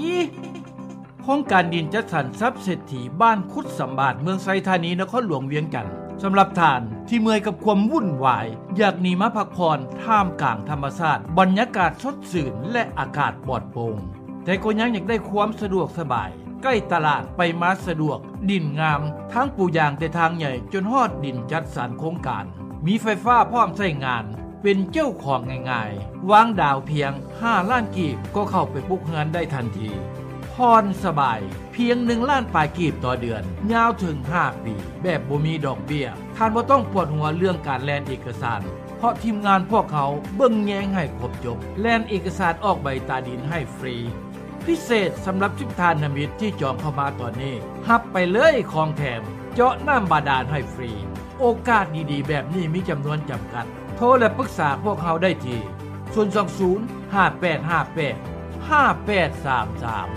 ໂຄງການດິນຈັດສັນຊັບເສດຖີ ບ້ານຄຸດສຳບາດ ເມືອງໄຊທານີ ນະຄອນຫຼວງວຽງຈັນ ສຳລັບທ່ານທີ່ເມື່ອຍກັບຄວາມວຸ່ນວາຍ ຢາກໜີມາພັກຜ່ອນທ່າມກາງທຳມະຊາດ, ບັນຍາກາດສົດຊື່ນ ແລະ ອາກາດປອດໂປ່ງ, ແຕ່ກໍຍັງຢາກໄດ້ຄວາມສະດວກສະບາຍ ໃກ້ຕະຫຼາດ ໄປມາສະດວກ, ດິນງາມ, ທັງປູຢາງແຕ່ທາງໃຫຍ່ ຈົນຮອດດິນຈັດສັນໂຄງການ, ມີໄຟຟ້າພ້ອມໃຊ້ງານ, ເປັນເຈົ້າຂອງງ່າຍໆ, ວາງດາວພຽງຫ້າລ້ານກີບ ກໍເຂົ້າໄປປຸກເຮືອນໄດ້ທັນທີ. ຜ່ອນສະບາຍ ພຽງໜຶ່ງລ້ານປາຍກີບຕໍ່ເດືອນ, ຍາວເຖິງຫ້າປີ ແບບບໍ່ມີດອກເບ້ຍ. ທ່ານບໍ່ຕ້ອງປວດຫົວເລື່ອງການແລ່ນເອກະສານ, ເພາະທີມງານພວກເຮົາເບິ່ງແຍງໃຫ້ຄົບຈົບ, ແລ່ນເອກະສານອອກໃບຕາດິນໃຫ້ຟຣີ. ພິເສດສຳລັບສິບທ່ານນະມິດທີ່ຈອງເຂົ້າມາຕອນນີ້, ຮັບໄປເລີຍຂອງແຖມ, ເຈາະນ້ຳບາດານໃຫ້ຟຣີ. ໂອກາດດີໆແບບນີ້ມີຈຳນວນຈຳກັດ. ໂທ ແລະ ປຶກສາພວກເຮົາໄດ້ທີ່ ສູນສອງສູນ ຫ້າແປດຫ້າແປດ ຫ້າແປດສາມສາມ.